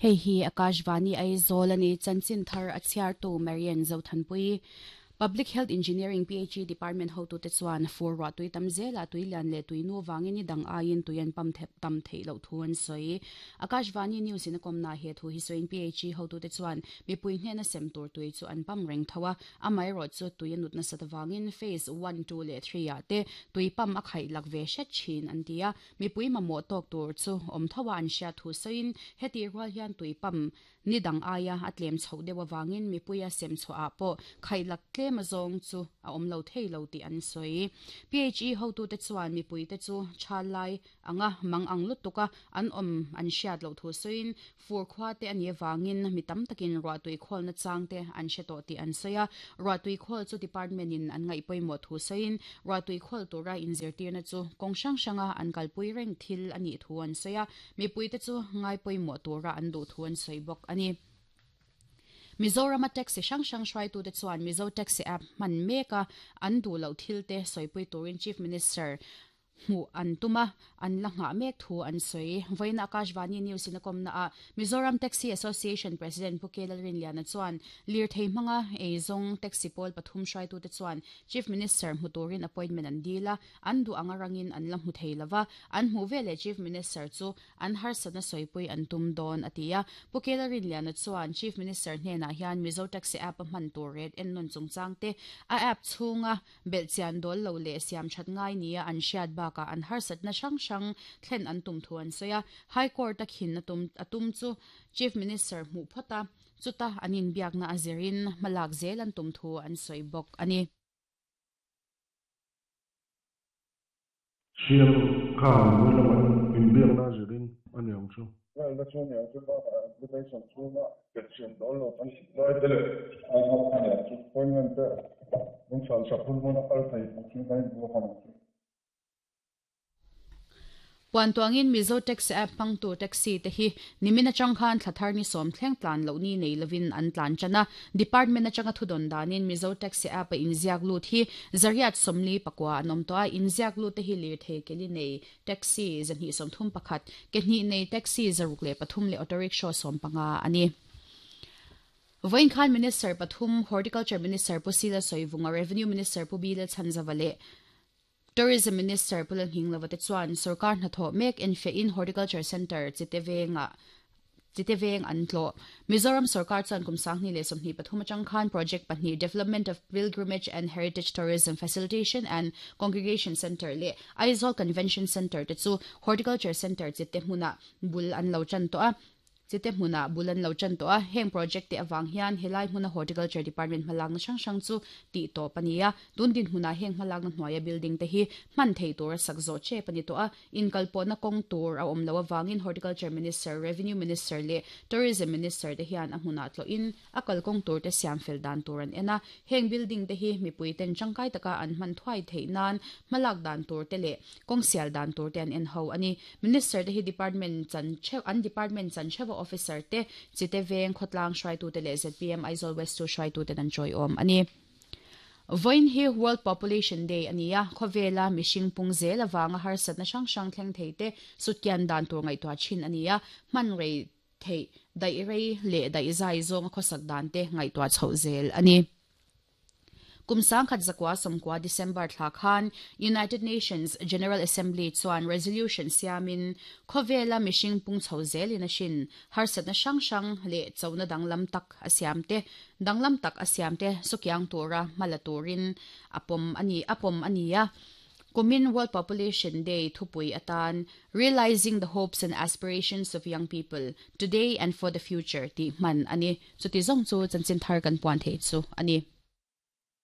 Hei hi Akashvani Aizawl a ni, chanchin thar a chhiartu Marian Zothanpui. Public Health Engineering, PHE, Department hotute chuan fur ruah tui tam zelah tui lian leh tui nu vangin ni dang aiin tui an pam tam theih loh thu an sawi. Akashvani News in a kawmnaah he thu hi sawiin PHE hotute chuan mipui hnena sem tur tui chu an pam reng tho a, Amaherawhchu tui a nut nasat avangin phase one, two leh three ah te tui pump a khaih lak ve hret thin an ti a, mipui mamawh tawk tur chu awm tho a an hriat thu sawiin hetih rual hian tui pump ni dang aia a tlem chhoh deuh avangin mipuia sem chhuahah pawh khaih lak tlem azawng chu a awm lo thei lo tih an sawi. PHE hotute chuan mipuite chu chhal lai anga mang ang lutuk a an awm an hriat loh thu sawiin fur khua te a nih avangin mi tam takin ruahtui khawlna chang te an hre tawh tih an sawi a. Ruahtui khawl chu department in an ngaih pawimawh thu sawiin ruahtui khawl tura inzirtirna chu kawng hrang hranga an kalpui reng thil a nih thu an sawi a, mipuite chu ngai pawimawh tura an duh thu an sawi bawk a ni. Mizorama taxi hrang hrang hruaitute chuan Mizo Taxi App hman meka an duh loh thilte sawipui turin Chief Minister hmuh an tum a, an la nghah mek thu an sawi. Vawiin Akashvani News in a kawmna ah Mizoram Taxi Association President Pu K Lalrinliana chuan lirthei hmanga eizawng taxi pawl pathum hruaitute chuan Chief Minister hmu turin appointment an dil a, an duh anga rangin an la hmu thei lova, an hmuh veleh Chief Minister chu an harsatna sawipui an tum dawn a ti a. Pu K Lalrinliana chuan Chief Minister hnenah hian Mizo Taxi App a hman tur ret ennawn chungchang te, a app chhunga Belhchian dawl lo leh siam that ngai nia an hriat bakah an harsatna hrang hrang thlen an tum thu an sawi a. High Court a khin a tum a tum chu Chief Minister hmuh phawt a, chuta an inbiakna a zirin hmalak zel an tum thu an sawi bawk a ni. CM khan mipui lam an inbiakna a zirin a ni ang chu. Lalna chu a ni ang chu bakah application chhunga belhchian dawl lo kan lai te leh a nghak a ni ang chu. Appointment te min chhan sak hun hmun a kal thei tur chu kan inbuak a ni ang chu. Puan tuangin Mizo Taxi App hmangtu taxi te hi nimin atang khan thla thar ni sawm thleng tlan loh ni nei lovin an tlan tan a. Department atanga thudawn danin Mizo Taxi App a inziak lut hi Zariat 44 an awm tawh a, inziak lut te hi lirthei keli nei taxi 231, ke hnih nei taxi 603 leh auto rickshaw 15 a ni. Vawiin khan Minister pathum, Horticulture Minister Pu Sila Sawivunga, Revenue Minister Pu Bilal Chhanzava leh Tourism Minister Pu Lalnghinglova te chuan sorkar hnathawh mek enfiahin Horticulture Centre Chite vengah Chite veng an tlawh. Mizoram sorkar chuan kum 2023 atang khan project pahnih Development of Pilgrimage and Heritage Tourism Facilitation and Congregation Centre leh Aizawl Convention Centre te chu Horticulture Centre Chite hmunah bul an lo tan tawh a. Chite hmunah bul an lo tan tawh a, heng project te avang hian helai hmuna Horticulture Department hmalakna hrang hrang chu tih tawp a ni a, tun dinhmunah heng hmalakna hnuaia building te hi hman thei tura sak zawh tep a ni tawh a, inkalpawhna kawng tur a awm loh avangin Horticulture Minister, Revenue Minister leh Tourism Minister te hian a hmunah tlawhin a kalkawng tur te siam fel dan tur an en a, heng building te hi mipui ten tangkai taka an hman thuai theih nan hmalak dan tur te leh kawng sial dan tur te an en ho a ni. Minister te hi department chan theuh an department chan theuha officer te, Chite Veng khawtlang hruaitute leh zpm Aizawl West chu hruaituten an tawiawm a ni. Vawiin hi World Population Day a ni a, khawvela mihring pung zel avanga harsatna hrang hrang thleng thei te sutkian dan tur ngaihtuah thin a ni a, hman rei theih daih rei leh daih zai zawnga khawsak dan te ngaihtuah chhoh zel a ni. Kum 1990 December thla khan United Nations General Assembly chuan resolution siamin khawvela mihring pung chho zelin a hrin harsatna hrang hrang leh chona danglam tak a siam te danglam tak a siam te sukiang tura hma la turin a pawm a ni a pawm a ni a. Kumin World Population Day thupui atan Realising the Hopes and Aspirations of Young People, Today and for the Future tih hman a ni. Chuti zawng chu chanchin thar kan puan theih chu a ni.